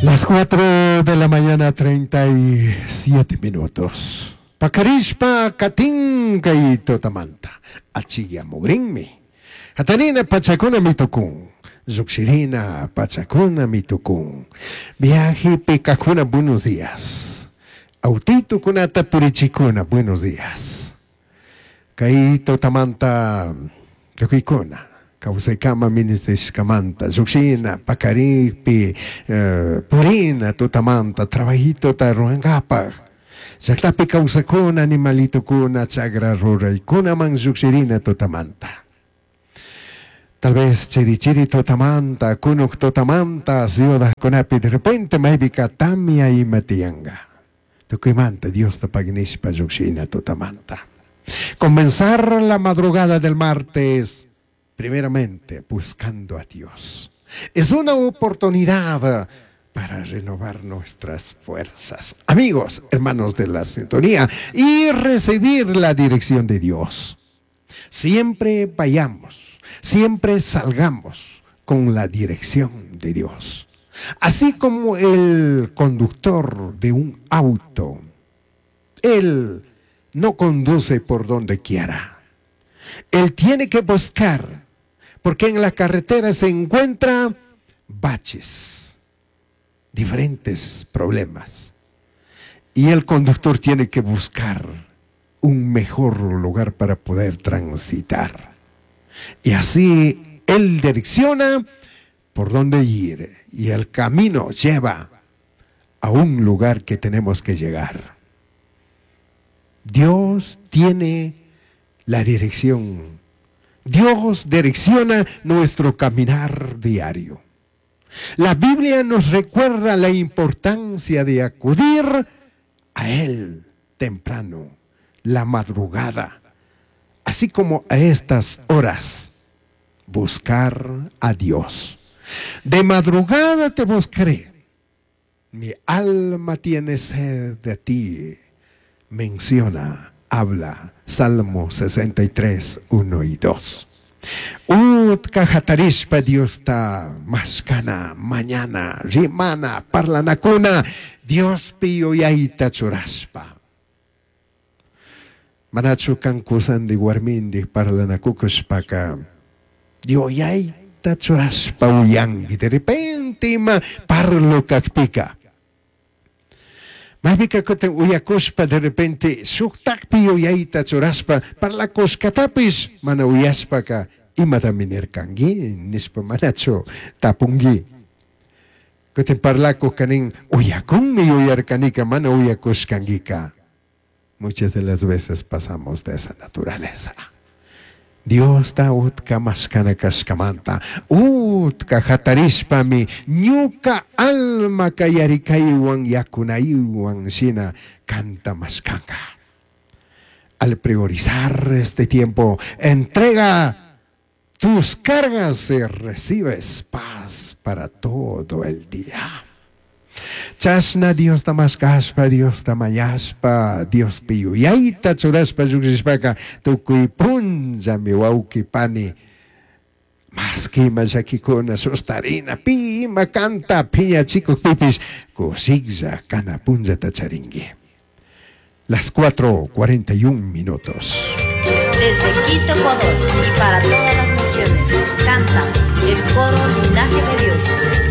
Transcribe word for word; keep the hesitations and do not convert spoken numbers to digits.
Las cuatro de la mañana, treinta y siete minutos. Pakarishpa katin kay tutamanta. Achiyamugrinmi. Hatarina pachakunami tukun. Llukshirina pachakunami tukun. Viaje kajkuna, buenos días. Autitukunata purichikuna, buenos días. Kay tutamanta tukuykuna. Kawsaykama ministrishkamanta, llukshina, pakaripi, eh, purina tutamanta, trabajitota rurankapak. Llaqtapi kawsakuna, animalitokuna, chagra ruraykunaman llukshirina tutamanta. Tal vez chiri chiri tutamanta, kunuk tutamanta, ciudadkunapi de repente maypika tamia ima tiyanka. Tukuymanta Diosta paginishpa llukshina tutamanta. Comenzar la madrugada del martes, primeramente buscando a Dios. Es una oportunidad para renovar nuestras fuerzas. Amigos, hermanos de la sintonía, y recibir la dirección de Dios. Siempre vayamos, siempre salgamos con la dirección de Dios. Así como el conductor de un auto, él no conduce por donde quiera. Él tiene que buscar, porque en la carretera se encuentra baches, diferentes problemas. Y el conductor tiene que buscar un mejor lugar para poder transitar. Y así él direcciona por dónde ir y el camino lleva a un lugar que tenemos que llegar. Dios tiene la dirección. Dios direcciona nuestro caminar diario. La Biblia nos recuerda la importancia de acudir a Él temprano, la madrugada, así como a estas horas, buscar a Dios. De madrugada te buscaré. Mi alma tiene sed de ti. Menciona, habla Salmo sesenta y tres, uno y dos. Utka hatarishpa Diosta mashkana, mañana, rimana, parlanakuna, Diospi yuyayta churashpa. Manachu kan kusandi warmindi parlanakukushpaka, yuyayta churashpa uyanki, de repente ima parlo kakpika. Maypika kutin uyakushpa de repente shuktakpi yuyayta churashpa parlakushkatapish mana uyashpaka, imatami nirkanki nishpa manachu tapunki. Kutin parlakuq kanin uyakunmi yuyarkanika, mana uyakushkankika. Muchas de las veces pasamos de esa naturaleza. Diosta utka mashkana kashkamanta, utka hatarishpami ñuka alma yarikaywan yakunaywan shina kanta mashkanka. Al priorizar este tiempo, entrega tus cargas y recibes paz para todo el día. Chashna Diosta mashkashpa, Diosta mañashpa, Diospi yuyayta churashpa llukshishpaka tukuy punllami, wawki pani, maski ima llakikuna sustarina pi ima kanta piñachikukpipish kushiklla kana punllata charinki. Las cuatro cuarenta y un minutos. Desde Quito, Ecuador, y para todas las naciones, canta el coro Linaje de Dios.